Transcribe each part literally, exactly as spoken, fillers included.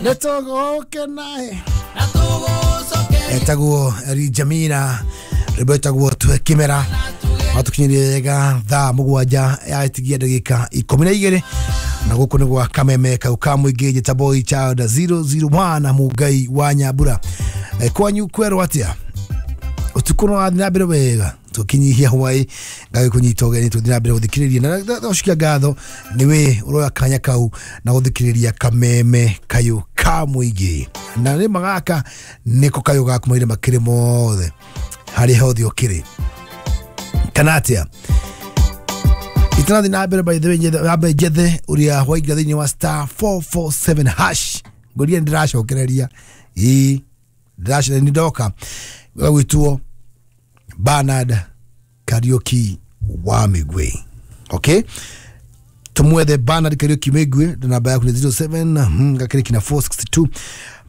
Nĩ tũgũkena. Etagwo Eri Jamina, rwĩmbo ĩtagwo Twe Kĩmera. Matukinyirie wega thaa mũgwanja yatigia ndagĩka ikũmi na igĩrĩ, na gũkũ nĩ gwa Kameme kau ka mũingĩ. Njĩta Boy Child zero zero one, Mũngai wa Nyambura. Eh, kwanyu kwerwo atĩa? Ũtukũ no wathiĩ na mbere wega? Tũkinyihia hwaĩ ngagĩkũnyita ũgeni tũthiĩ na mbere gũthikĩrĩria na ndacokia ngatho nĩ we ũroya kanya kau na gũthikĩrĩria Kameme kayũ ka mũingĩ, na nĩ magaka nĩko kayũ gaku mahinda makĩrĩ mothe harĩa hothe ũkĩrĩ kana atĩa. Itanathi na mbere, by the way, njethe ambe njethe ũrĩa waingĩra thĩinĩ wa star four four seven hash. Ngũria nĩ ndĩracokereria, ĩĩ, ndĩracokereria, nĩ ndoka gwĩtwo Bernard Kariuki wa Migwe. Okay, tumwethe Bernard Kariuki Migwe na namba yaku ni zero seven hmm, gakĩrĩ kina four six two.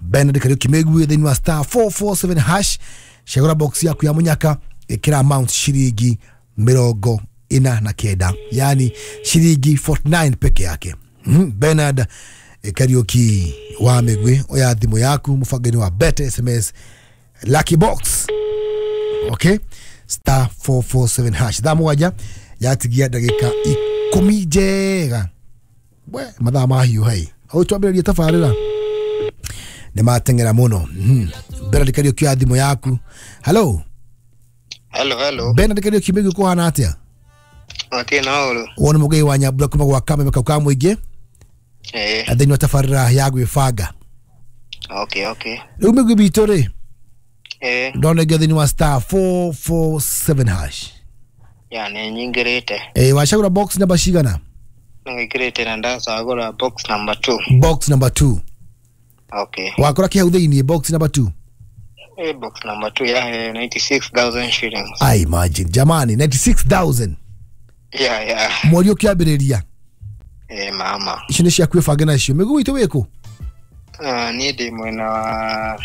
Bernard Kariuki Migwe thĩinĩ wa star four four seven hash, cagũra box yaku ya mũnyaka, ĩkĩra amount ciringi mĩrongo ĩna na kenda, yani ciringi forty-nine peke yake. mm, Bernard Kariuki wa Migwe, oya thimũ yaku mũbango-inĩ wa Bet S M S Lucky Box. Okay, star four four seven hash, thaa mũgwanja yatigia ndagĩka ikũmi njega. We mathaa mahiũ hai au twambĩrĩrie tabarĩra nĩ mateng'era mũno. mm. Bernard Kariuki ya thimũ yaku. Hello. Hello, hello. Bernard Kariuki Migwi, kũhana atĩa? Okay, na uru. Wona mũgei wa Nyambura kuma gwa Kameme kau ka mũingĩ Eh, thĩinĩ wa tabarĩra ya gwĩbanga. okay, okay. Rĩu Migwi bitũ rĩ, Eh, ndona ingĩ thĩinĩ wa star four four seven hash. Ya nĩ nyingĩrĩte. Eh, wacagũra box namba cigana? Nĩngĩrĩte na ndacagũra box number two. Box number two. Okay. Wakora kĩ hau thĩinĩ box number two? Eh, box number two ya ninety-six thousand shillings. I imagine, jamani, ninety-six thousand. Yeah, yeah. Mweri ũkĩambĩrĩria. Eh, mama. Icio nĩ cia kwĩbanga nacio. Mĩguu itũ wĩkũ? Uh, niĩ ndĩ mwena wa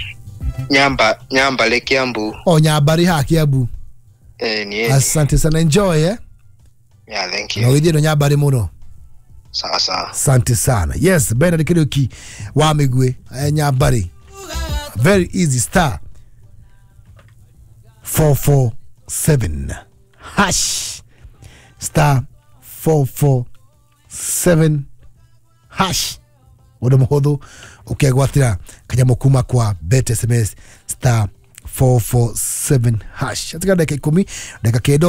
Nyamba, Nyambale, Kiambu. O Nyambarĩ haha Kiambu? Eh, niĩ. Asante sana, enjoy, eh. Yeah, thank Na you. ũgĩthiĩ no Nyambarĩ mũno. Sawa sawa. Asante sana. Yes, Bernard Kariuki wa Migwe, eh, Nyambarĩ, very easy, star four four seven hash, star four four seven hash, ũndũ mũhũthũ ũkegwatĩra kanyamũ kuma kwa Bet S M S, star four four seven hash. Atika ndagĩka ikũmi ndagĩka kenda ũguo.